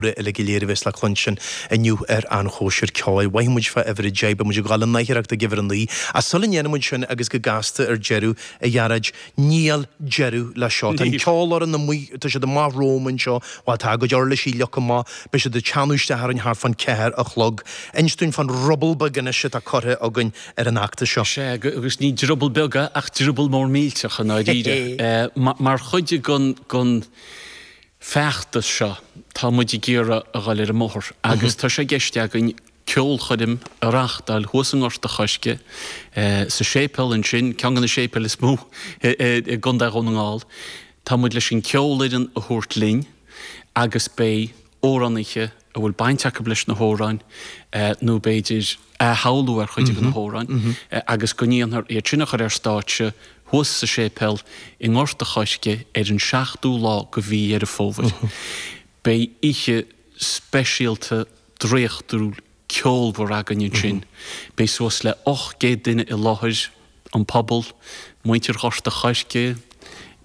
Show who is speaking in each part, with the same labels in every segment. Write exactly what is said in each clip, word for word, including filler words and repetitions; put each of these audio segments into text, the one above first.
Speaker 1: uilig go léir a bheas le cluinstin inniu ar An Chóisir Ceoil. Mhothaigh muid fá uimhir a deich, beidh muid ag dul i ndáiríreacht ag uimhir a naoi. Ach sula ndéanann muid sin agus go gasta ar deireadh, a Ghearóid, níl deireadh leis seo. Tá an ceolfhoireann amuigh, tá siad amach romham anseo, bhuel tá a gcuid uirlisí leagtha amach, beidh siad ag teannadh isteach orainn thart fán ceathair a chlog. Inis dúinn fán ruball beag anois atá curtha againn ar an fheachtas seo.
Speaker 2: Sea, agus ní druball beag é ach druball mór millteach i ndáiríre. Mar chuid den feachtas seo, tá muid ag iarraidh a dhul ar an mbóthar agus tá sé i gceist againn ceolchoirm a reáchtáil thuas i nGort a' Choirce, sa séipéal ansin, ceann de na séipéil is mó i gContae Dhún na nGall. Tá muid leis an ceolfhoireann a thabhairt linn agus beidh amhránaithe a bhfuil baint acu leis na hamhráin nó b'fhéidir athshamhlú ar chuid de na hamhráin agus go ndéanfar iad sin a chur ar stáitse thuas sa séipéal i nGort a' Choirce ar an seachtú lá de mhí Dheireadh Fómhair. Beidh oíche speisialta draíochtúil ceolmhar againn ansin. Beidh suas le ocht gcéad duine i láthair, an pobal, muintir Ghort a' Choirce,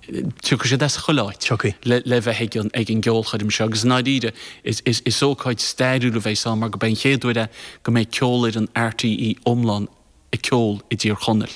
Speaker 2: tiocfaidh siad as chuile áit le le bheith ag an ag an gceolchoirm seo agus i ndáiríre is is is ócáid stairiúil a bheidh ann mar go beidh an chéad uair é go mbeidh ceolfhoireann RTÉ iomlán ag ceol i dTír Chonaill.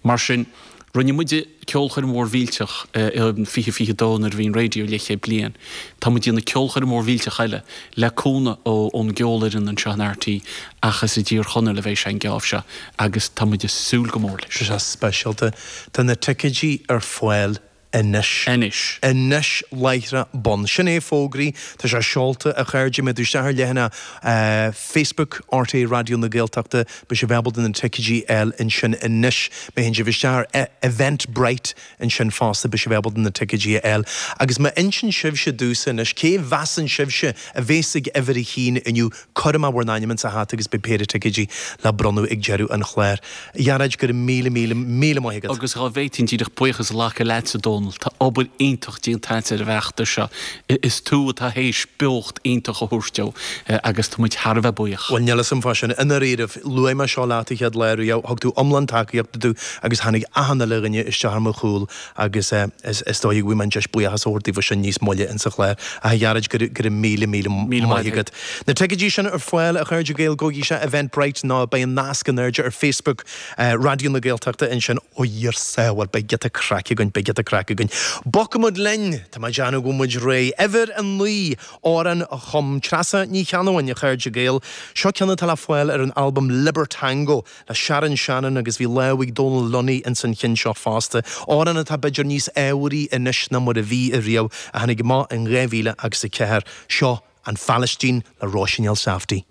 Speaker 2: Mar sin, rinne muid ceolchoirm mhór mhillteach i fiche fiche dó nuair a bhí an raidió leathchéad bliain. Tá muid ag déanamh ceolchoirm mhór mhillteach eile le cúnamh ón gceolfhoireann anseo in RTÉ ach is i dTír Chonaill a bheidh sé an geábh seo agus tá muid ag súil go mór leis.
Speaker 1: Tá sé speisialta. Tá na ticéidí ar fáil anois.
Speaker 2: Anois.
Speaker 1: Anois láithreach bonn. Sin é fógraí. Tá sé seolta, a chairde. Má théann tú isteach ar leathanach Facebook RTÉ Raidió na Gaeltachta, beidh sibh ábalta na ticéidí a fháil ansin anois. Má théann sibh isteach ar Eventbrite ansin fosta, beidh sibh ábalta na ticéidí a fháil. Agus má insíonn sibhse domhsa anois, cé mheasann sibhse a bhéas ag uimhir a haon inniu, cuir amach bhur n-ainm insa hata agus beidh péire ticéidí le bronnadh ag deireadh an chláir. A Ghearóid, go raibh míle, míle, míle maith agat.
Speaker 2: Agus dhá bhféadfainn díreach buíochas a ghlacadh leatsa, Dónal, tá obair iontach déanta agat ar an bhfeachtas seo. Is tú atá théis beocht iontach a thabhairt dó agus tá muid thar a bheith buíoch.
Speaker 1: Bhuel, níl 'fhios a'm fá sin. I ndáiríribh, luaigh mé seo leat an chéad lá riamh, thug tú iomlán tacaíochta domh agus tháinig achan uile dhuine isteach ar mo chúl agus is dóigh go bhfaighidh mé an deis buíochas a thabhairt daofa sin níos moille insa chlár. Ach a Ghearóid, go raibh míle, míle maith agat. Na ticéidí sin ar fáil, a chairde Gael, gabhaigí isteach Eventbrite nó beidh an nasc in airde ar Facebook Raidió na Gaeltachta ansin. Ó Dhia ár sábháil, beidh giota craic againn, beidh giota craic againn. Bogfaidh muid linn! Tá mé ag déanamh go bhfuil muid réidh. Uimhir a naoi, amhrán a chum Treasa Ní Cheannabháin, a chairde Gael. Seo ceann atá le fáil ar an albam Libertango le Sharon Shannon agus bhí lámh ag Dónal Lunny ins an chinn seo fosta. Amhrán atá b'fhéidir níos ábharaí anois ná mar a bhí ariamh, a tháinig amach in dhá mhíle agus a ceathair. Seo An Phalaistín le Róisín Elsafty.